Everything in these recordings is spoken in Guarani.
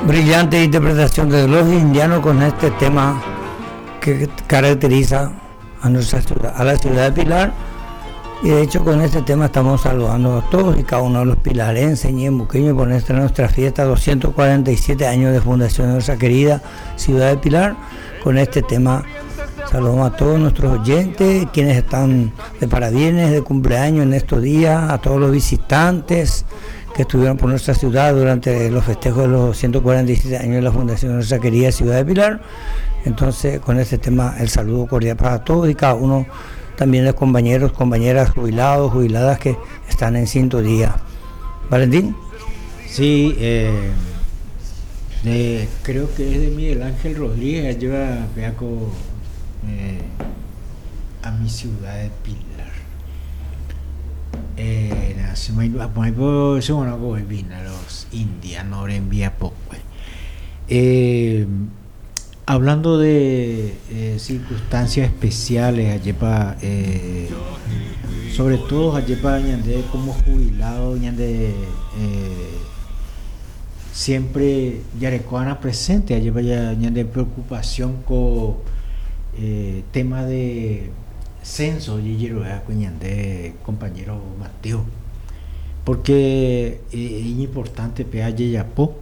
Brillante interpretación de los indianos con este tema que caracteriza a nuestra ciudad, a la ciudad de Pilar. Y de hecho con este tema estamos saludando a todos y cada uno de los pilarenses y embuqueños por nuestra, nuestra fiesta, 247 años de fundación de nuestra querida ciudad de Pilar. Con este tema saludamos a todos nuestros oyentes, quienes están de parabienes, de cumpleaños en estos días, a todos los visitantes que estuvieron por nuestra ciudad durante los festejos de los 147 años de la fundación de nuestra querida ciudad de Pilar. Entonces, con este tema, el saludo cordial para todos y cada uno, también los compañeros, compañeras jubilados, jubiladas que están en sintonía. Valentín. Sí, eh, creo que es de Miguel Ángel Rodríguez, lleva Beaco eh, a mi ciudad de Pilar. Eh, los indianos envía poco. Eh, hablando de eh, circunstancias especiales, ayepa, eh, sobre todo ayepa ñande como jubilado, ñande eh, siempre yarekoana presente, ayepa ñande preocupación con eh, tema de censo, ko ñande compañero Mateo, porque eh, es importante pe ajejapo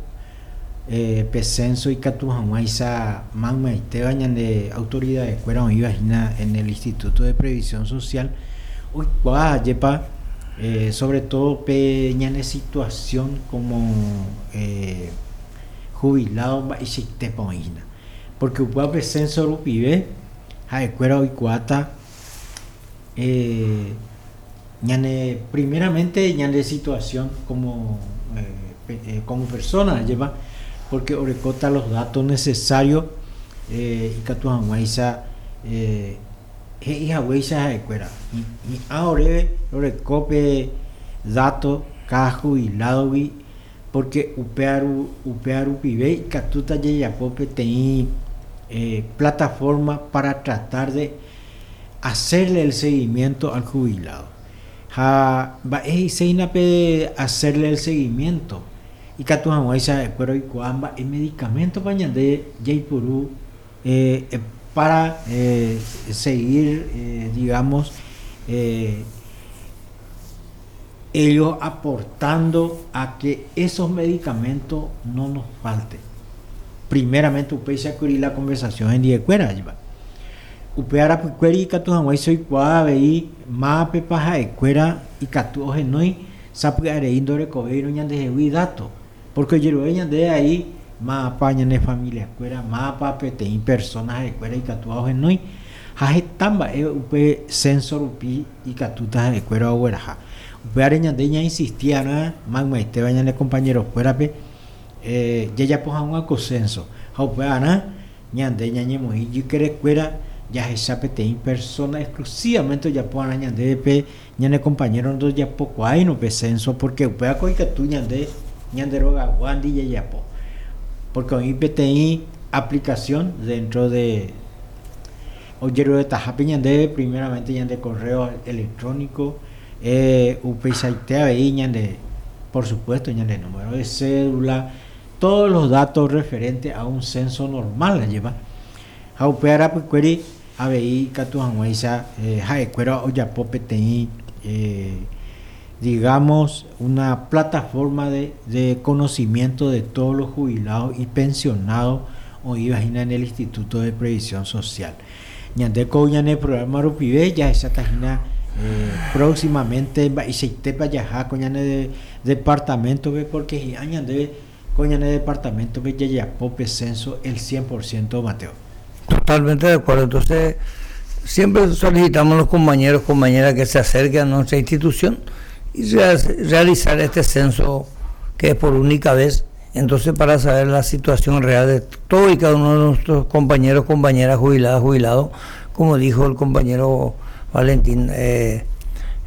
eh, pe censo ikatu hag̃uáicha maymaitéva ñande autoridades-kuéra oĩva hína en el Instituto de Previsión Social oikuaa ajépa eh, sobre todo pe ñane situación como eh, jubilado mba'eichaitépa oĩ hína porque upéva pe censo rupive ha'ekuéra oikuaáta eh, ñane primeramente ñande situación como eh, como persona ajépa porque orekóta los datos necesarios eh, ikatu hag̃uáicha eh, he'i haguéicha ha'ekuéra hi'ã oréve roreko pe dato cada jubilado-gui porque upéva upéva rupive ikatúta jajapo peteĩ eh, plataforma para tratar de hacerle el seguimiento al jubilado. Ha mba'e he'iséina pe hacerle el seguimiento ikatu hag̃uáicha ha'ekuéra oikuaa mba'e medicamento-pa ñande jaipuru eh, para eh, seguir, eh, digamos, eh, ellos aportando a que esos medicamentos no nos falten. Primeramente upéicha kuri la conversación hendivekuéra ajépa. Upe arapykuéri ikatu hag̃uáicha oikuaa avei mávapepa ha'ekuéra ikatu ohenói sapy'arei ndorekovéirõ ñandehegui dato, porque ojerure ñandéve ai mávapa ñane familiakuéra, mávapa peteĩ persona ha'ekuéra ikatúva ohenói, ha heta mba'e upe censo rupi ikatúta ha'ekuéra ogueraha. Upévare ñande ñainsisti va'erã maymaitéva ñane compañerokuérape jajapo hag̃ua ko censo, ha upevarã ñande ñañemoĩ ijykerekuéra jahecha peteĩ persona exclusivamente ojapo va'erã ñandéve pe ñane compañero ndojapokuaáirõ pe censo, porque upévako ikatu ñande ñande rogaguándi jajapo, porque oĩ peteĩ aplicación dentro de ojeruretahápe ñandéve primeramente ñande correo electrónico, eh, upeichaite avei ñande, por supuesto, ñande número de cédula, todos los datos referentes a un censo normal, ajépa. Ha upe arapykuéri avei ikatu hag̃uáicha eh, ha'ekuéra ojapo peteĩ eh, digamos una plataforma de, de conocimiento de todos los jubilados y pensionados oĩva hína en el Instituto de Previsión Social. Ñande ko ñane programa rupive jahecháta hína eh, próximamente mba'eichaitépa jaha ko ñane departamento-pe porque hi'ã ñandéve ko ñane departamento-pe jajapo pe censo el 100% Mateo. Totalmente de acuerdo. Entonces, siempre solicitamos a los compañeros, compañeras que se acerquen a nuestra institución y realizar este censo que es por única vez. Entonces, para saber la situación real de todo y cada uno de nuestros compañeros, compañeras, jubiladas, jubilados, como dijo el compañero Valentín. Eh,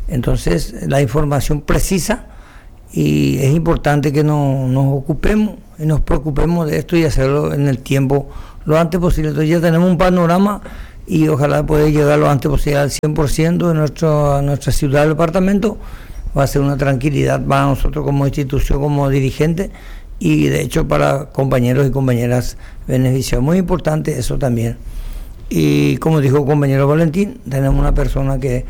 entonces, la información precisa y es importante que no, nos ocupemos y nos preocupemos de esto y hacerlo en el tiempo lo antes posible. Entonces ya tenemos un panorama y ojalá poder llegar lo antes posible al 100% de nuestro, nuestra ciudad, del departamento. Va a ser una tranquilidad para nosotros como institución, como dirigente. y de hecho para compañeros y compañeras beneficiados. Muy importante eso también. Y como dijo el compañero Valentín, tenemos una persona que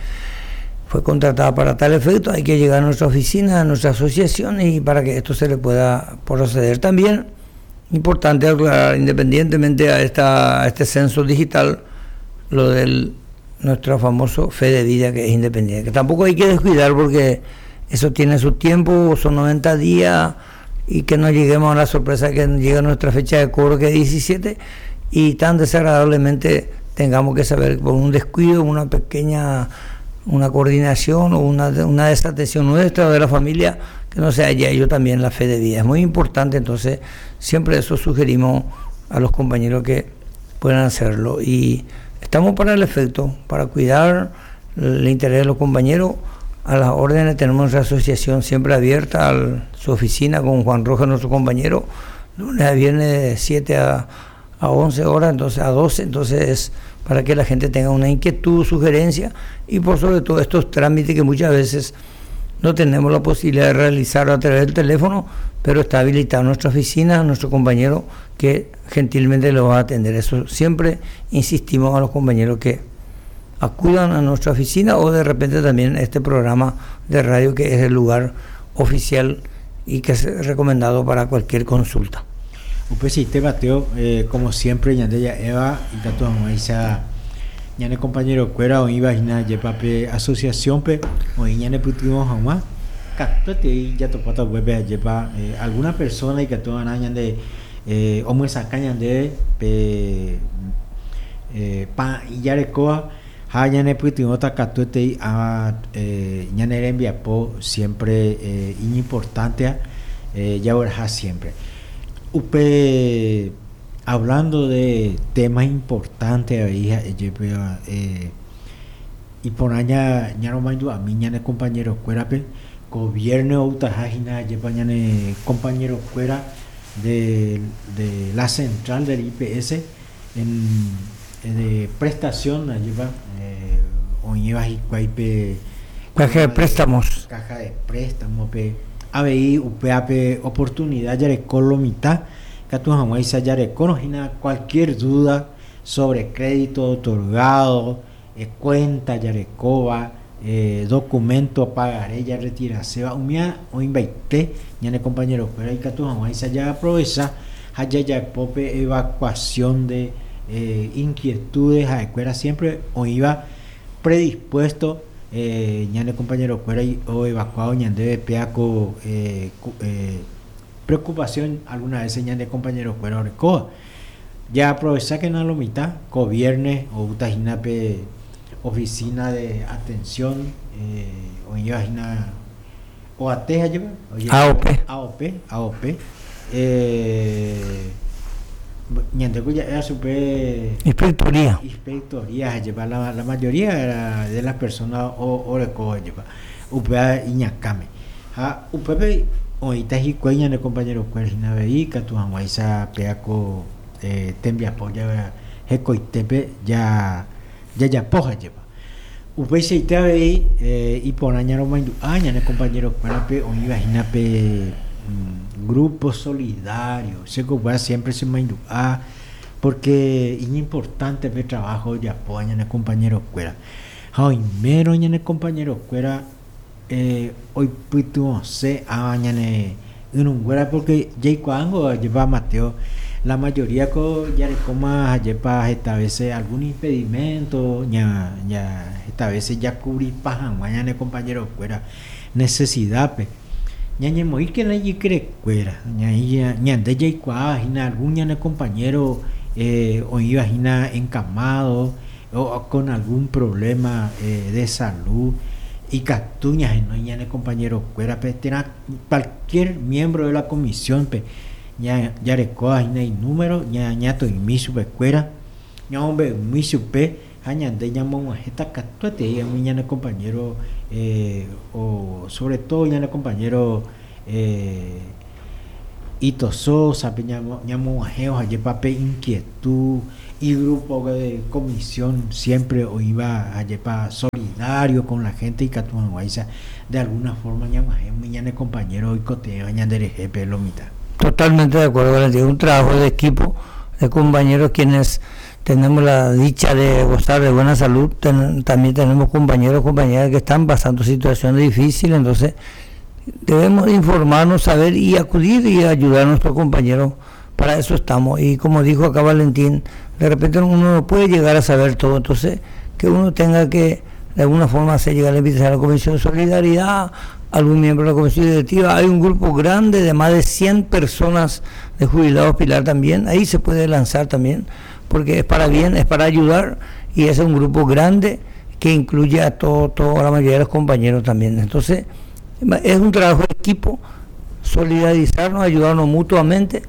fue contratada para tal efecto, hay que llegar a nuestra oficina, a nuestra asociación y para que esto se le pueda proceder. También, importante aclarar, independientemente a, esta, a este censo digital, lo del nuestro famoso fe de vida que es independiente, que tampoco hay que descuidar porque eso tiene su tiempo, son 90 días y que no lleguemos a la sorpresa que llega nuestra fecha de cobro que es 17 y tan desagradablemente tengamos que saber por un descuido, una pequeña una coordinación o una, una desatención nuestra o de la familia, que no se haya ello también la fe de vida. Es muy importante, entonces, siempre eso sugerimos a los compañeros que puedan hacerlo. Y estamos para el efecto, para cuidar el interés de los compañeros. A las órdenes tenemos nuestra asociación siempre abierta, a su oficina con Juan Rojas, nuestro compañero, lunes a viernes de 7 a 11 horas, entonces a 12, entonces para que la gente tenga una inquietud, sugerencia y por sobre todo estos trámites que muchas veces no tenemos la posibilidad de realizar a través del teléfono, pero está habilitada nuestra oficina, nuestro compañero que gentilmente lo va a atender. Eso siempre insistimos a los compañeros que acudan a nuestra oficina o de repente también este programa de radio que es el lugar oficial y que es recomendado para cualquier consulta. Upe Mateo, como siempre, ñande Eva y tato isa ñane compañero cuera o iba hina yepape asociación pe o ñane putumo hama katuete ya topata web yepa alguna persona y que toda ñande o muesa ñande pe pa yarekoa ha ñane putumo ta katuete a ñane rembiapo siempre importante ya siempre. Upe hablando de temas importantes ahí y por allá ya no mando a mí ñane compañero cuera pe gobierno utajajina lleva ñane compañero cuera de la central del IPS en de prestación lleva o lleva pe caja de préstamos caja de préstamos pe ABI, UPAP, oportunidad yarecó lo mitad, cualquier duda sobre crédito otorgado, cuenta yarecova, documento pagaré ya retirase va umia o invaité ñane compañero pero hay ya aprovecha haya ya pope evacuación de inquietudes a escuela siempre o iba predispuesto ñane compañero cuera o evacuado ñande peaco preocupación alguna vez ñane compañero cuera orecoa ya aprovecha que no lo mitad gobierno o utajinape oficina de atención o lleva o AT lleva AOP AOP ñande ya era super inspectoría lleva la mayoría de las personas o orecoa lleva upea iñakame ha upepe oita hikuái ñane compañero kuéra hína avei katu hag̃uáicha peako tembiapo hekoitépe jajapo jepa upeichaite avei iporã ñaromaindu'a ñane compañero kuérape oĩva hína pe grupo solidario chéko siempre se maindu'a porque iñimportante pe trabajo ojapo ñane compañero kuéra ha oimérõ ñane compañero kuéra oipytyvõse ava ñane yrũnguéra porque jaikuaángo jepa Mateo la mayoría ko jarekóma jepa esta veces algún impedimento ña esta veces jacubripa hag̃ua ñane compañero kuéra necesidad pe ñañemoĩkena ijykerekuéra ñande jaikuaa hína algún ñane compañero oĩva hína encamado o con algún problema de salud y katu ñahenói ñane compañero kuéra pe térã cualquier miembro de la comisión pe jarekóva hína inúmero ñatoimi chupekuéra ñamombe'umi chupe ha ñande ñamog̃uahẽta katuete umi ñane compañero o sobre todo ñane compañero Ito Sosa pe ñamog̃uahẽ ohajepa pe inquietud y grupo de comisión siempre oĩva ajepa solidario con la gente y katu hag̃uáicha de alguna forma ñamog̃uahẽ umi ñane compañero oikotevẽva ñanderehe pe lo mitad. Totalmente de acuerdo, Valentín. Un trabajo de equipo, de compañeros quienes tenemos la dicha de gozar de buena salud. También tenemos compañeros, compañeras que están pasando situaciones difíciles, entonces debemos informarnos, saber y acudir y ayudar a nuestros compañeros. Para eso estamos. Y como dijo acá Valentín, de repente uno no puede llegar a saber todo, entonces que uno tenga que de alguna forma hacer llegar la invitación a la Comisión de Solidaridad, algún miembro de la Comisión Directiva. Hay un grupo grande de más de 100 personas de jubilados Pilar también, ahí se puede lanzar también, porque es para bien, es para ayudar, y es un grupo grande que incluye a toda la mayoría de los compañeros también. Entonces, es un trabajo de equipo, solidarizarnos, ayudarnos mutuamente,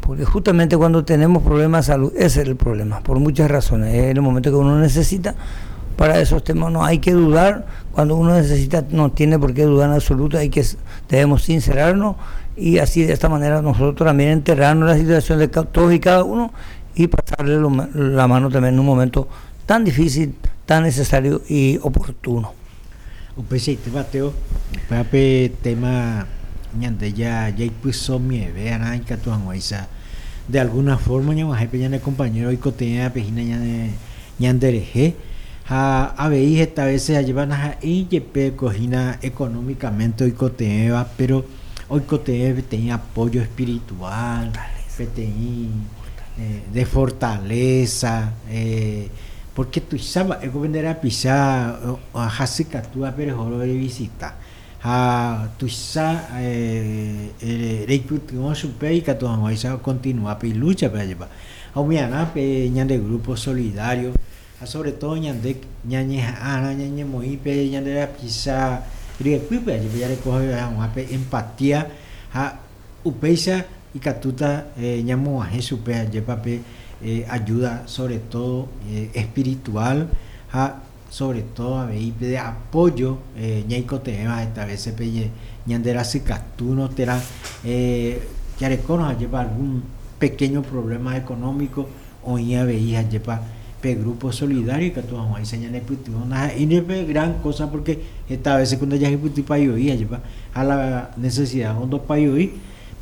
porque justamente cuando tenemos problemas de salud, ese es el problema, por muchas razones, es el momento que uno necesita. Para esos temas no hay que dudar, cuando uno necesita no tiene por qué dudar en absoluto, debemos sincerarnos y así de esta manera nosotros también enterrarnos la situación de todos y cada uno y pasarle la mano también en un momento tan difícil, tan necesario y oportuno. Upeichaite Mateo, upéva pe tema ñande ja jaipyso mieve arã ikatu hag̃uáicha de alguna forma ñag̃uahẽ pe ñane compañero oikotevẽvape hína ñane ñanderehe ha avei heta veces ajépa ndaha'éi jepe ko hína económicamente oikotevẽva pero oikotevẽ peteĩ apoyo espiritual, peteĩ de fortaleza, porque tuicha mba'e ko pende rapicha hasykatúvape reho revisita ha tuicha reipytyvõ chupe ikatu hag̃uáicha okontinua pe ilúchape ajépa. Ha umiarã pe ñande grupo solidario ha sobre todo ñande ñañeha'ãrã ñañemoĩ pe ñande rapicha ryepýpe ajépa jareko hag̃ua pe empatía ha upéicha ikatúta ñamoguahẽ chupe ajépa pe ayuda sobre todo espiritual ha sobre todo avei pe de apoyo ñaikotevẽva heta veces pe ñande rasykatúrõ térã jarekórõ ajépa algún pequeño problema económico oĩ avei ajépa pe grupo solidario ikatu hag̃uáicha ñanepytyvõ ndaha'éi pe gran cosa porque heta veces ku ndajahypytypái voi ajépa ha la necesidad ondopái voi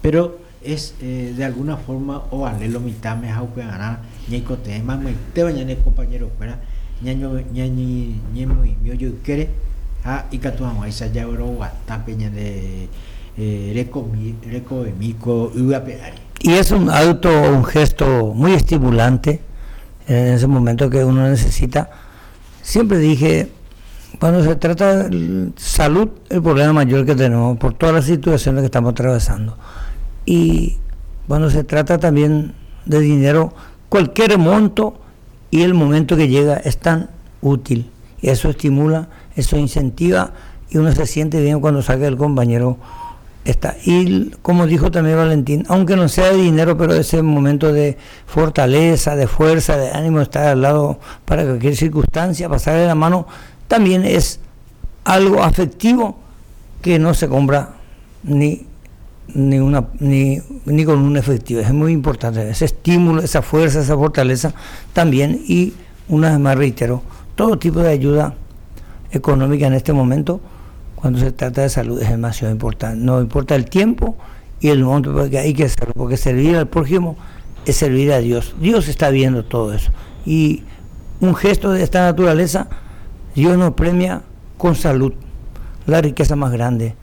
pero es de alguna forma ovale lo mitãme ha upevarã ñaikotevẽ maymaiteva ñane compañero-kuéra ñañemoĩmi ojoykére ha ikatu hag̃uáicha jagueroguata pe ñande rekomi rekovemi ko yvy ape ári. Y es un acto o un gesto muy estimulante en ese momento que uno necesita. Siempre dije, cuando se trata de salud, el problema mayor que tenemos por todas las situaciones que estamos atravesando. Y cuando se trata también de dinero, cualquier monto y el momento que llega es tan útil. Y eso estimula, eso incentiva y uno se siente bien cuando sabe que el compañero está. Y como dijo también Valentín, aunque no sea de dinero, pero ese momento de fortaleza, de fuerza, de ánimo, estar al lado para cualquier circunstancia, pasarle la mano, también es algo afectivo que no se compra ni, ni, una, ni, ni con un efectivo. Es muy importante ese estímulo, esa fuerza, esa fortaleza también. Y una vez más reitero, todo tipo de ayuda económica en este momento, cuando se trata de salud, es demasiado importante. No importa el tiempo y el monto, porque hay que hacerlo, porque servir al prójimo es servir a Dios. Dios está viendo todo eso. Y un gesto de esta naturaleza, Dios nos premia con salud, la riqueza más grande.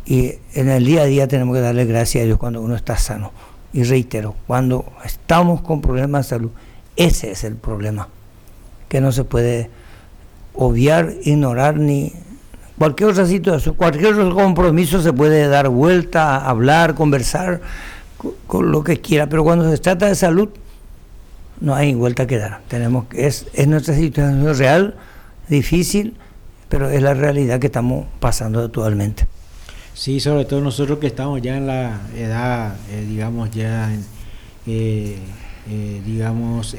Y en el día a día tenemos que darle gracias a Dios cuando uno está sano. Y reitero, cuando estamos con problemas de salud, ese es el problema, que no se puede obviar, ignorar, ni cualquier otra situación, cualquier otro compromiso se puede dar vuelta, hablar, conversar, con lo que quiera, pero cuando se trata de salud, no hay vuelta que dar. Es nuestra situación real, difícil, pero es la realidad que estamos pasando actualmente. Sí, sobre todo nosotros que estamos ya en la edad, digamos, ya en digamos,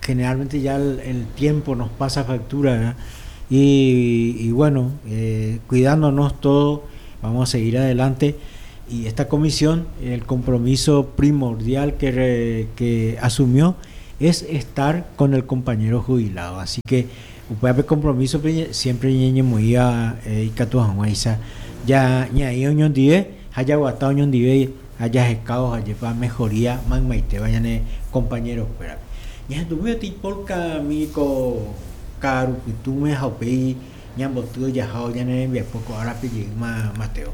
generalmente ya el tiempo nos pasa factura, ¿verdad? Y cuidándonos todos, vamos a seguir adelante. Y esta comisión, el compromiso primordial que asumió es estar con el compañero jubilado. Así que, upépe compromiso, pe, siempre ñeñe moía ikatu hag̃uáicha. Ya ñaĩ oñondive, Ha jaguata oñondive ha jahekávo ajépa mejoría maymaitéva ñane compañero-kuérape. Ñahendumi peteĩ polka mi ko ka'arupytũme ha upéi ñamboty ojahávo ñane rembiapo ko árape jeýma Mateo.